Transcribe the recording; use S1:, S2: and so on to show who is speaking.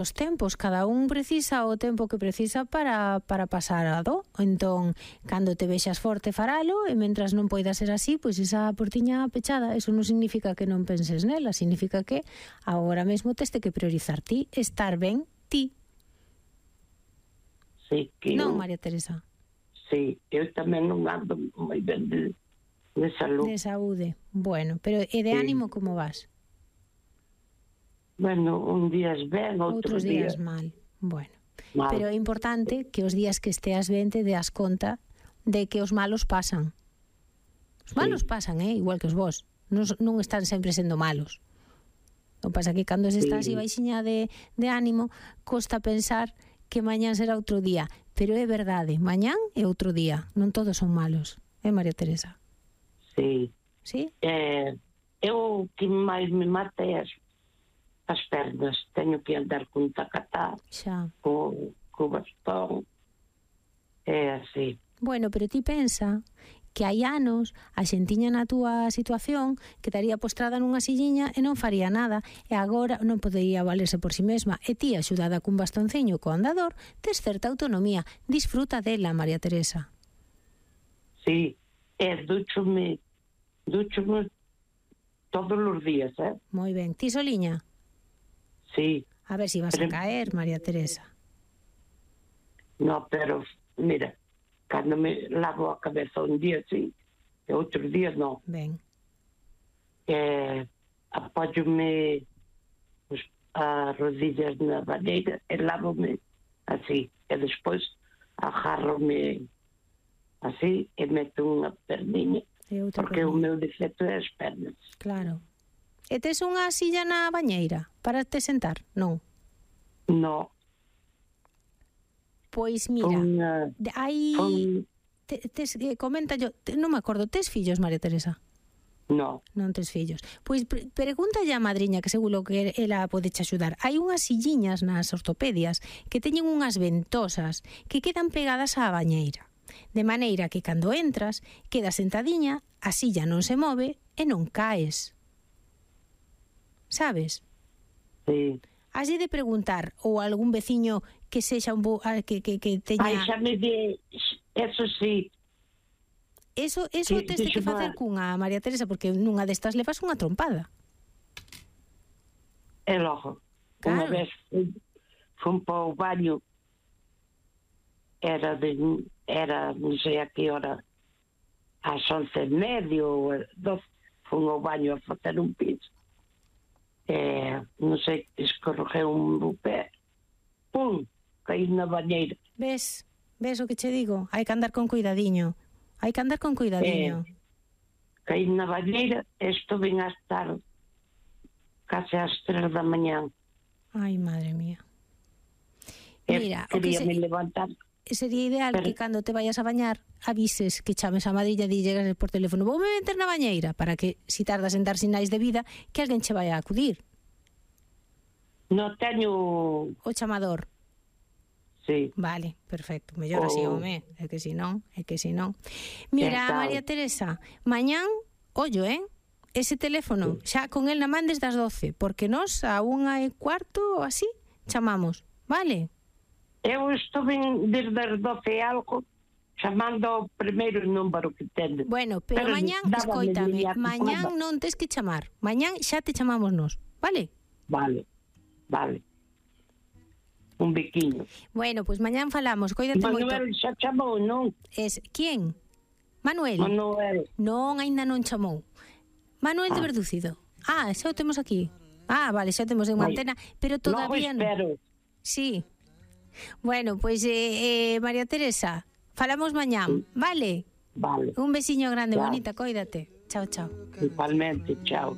S1: os tempos, cada un precisa o tempo que precisa para pasar a do. Entón, cando te vexas forte faralo, e mentras non poida ser así, pois esa portiña pechada. Eso non significa que non penses nela, significa que agora mesmo teste que priorizar ti, estar ben ti.
S2: Sí, que
S1: Non, María Teresa?
S2: Sí, eu tamén non ando moi ben de saúde.
S1: De saúde. Bueno, pero e de ánimo como vas?
S2: Bueno, un días ben,
S1: outros días mal. Bueno, mal. Pero é importante que os días que esteas ben te deas conta de que os malos pasan. Os malos pasan, igual que os vos. Non están sempre sendo malos. O que pasa que cando se está así baixiña de ánimo, costa pensar que mañán será outro día. Pero é verdade, mañán é outro día. Non todos son malos. María Teresa?
S2: Sí.
S1: Sí?
S2: Eu que máis me mata é as pernas, teño que andar con tacatá, co bastón, é así.
S1: Bueno, pero ti pensa que hai anos a xentiña na túa situación que estaría postrada nunha silliña e non faría nada, e agora non podería valerse por si mesma, e ti axudada cun bastonceño co andador, tes certa autonomía. Disfruta dela, María Teresa.
S2: Sí, dúchome todos os días,
S1: Moi ben. Ti soliña?
S2: Sí.
S1: A ver si vas a caer, María Teresa.
S2: No, pero, mira, cando me lavo a cabeza un día, sí, e outro día, non.
S1: Ben.
S2: Apóyome as rodillas na bañeira e lávome así. E despois agárrome así e meto unha perniña. Porque o meu defecto é as pernas.
S1: Claro. E tes unha silla na bañeira para te sentar? Non?
S2: No.
S1: Pois mira, hai... Comenta yo, non me acordo, tes fillos, María Teresa?
S2: No.
S1: Non tes fillos. Pois pregúntalle a madriña, que seguro que ela pode che axudar. Hai unhas silliñas nas ortopedias que teñen unhas ventosas que quedan pegadas á bañeira. De maneira que cando entras, quedas sentadiña, a silla non se move e non caes. Sabes?
S2: Sí.
S1: Has de preguntar ou algún veciño que sexa un que teña...
S2: Ai, xa me di, eso sí.
S1: Eso tes que facer cunha, María Teresa, porque nunha destas levas unha trompada.
S2: E logo, unha vez fun para o baño, era non sei a que hora, ás 11:30 ou 12, fun ao baño a facer un pis. Non sei, escorreguei un pé, pum, caí na bañeira.
S1: Ves o que che digo? Hai que andar con cuidadiño.
S2: Caí na bañeira e estuve a estar case ás 3 da mañán.
S1: Ai, madre mía. Mira,
S2: queríame levantar.
S1: Sería ideal que cando te vayas a bañar avises, que chames a madrilla e llegas por teléfono, voume meter na bañeira, para que, si tardas en dar sinais de vida, que alguén che vaya a acudir.
S2: Non teño
S1: o chamador.
S2: Sí.
S1: Vale, perfecto, mellor así, home, é que si non. Mira, María Teresa, mañán, ollo, ese teléfono, xa con el na man desde as 12, porque nós a 1:15 ou así chamamos, vale?
S2: Eu estuve desde as 12 algo chamando ao primeiro número que tendes.
S1: Bueno, pero mañán, escoítame, mañán non tes que chamar, mañán xa te chamamos nós, vale?
S2: Vale. Un biquiño.
S1: Bueno, pois mañán falamos, coídate moito.
S2: Manuel xa chamou, non?
S1: Quen? Manuel? Non, aínda non chamou. Manuel de Verdúcido. Xa o temos aquí. Vale, xa o temos en antena, pero todavía non.
S2: Espero.
S1: Sí. Bueno, pois María Teresa, falamos mañán, vale?
S2: Vale.
S1: Un besiño grande, bonita, coídate. Chao.
S2: Igualmente, chao.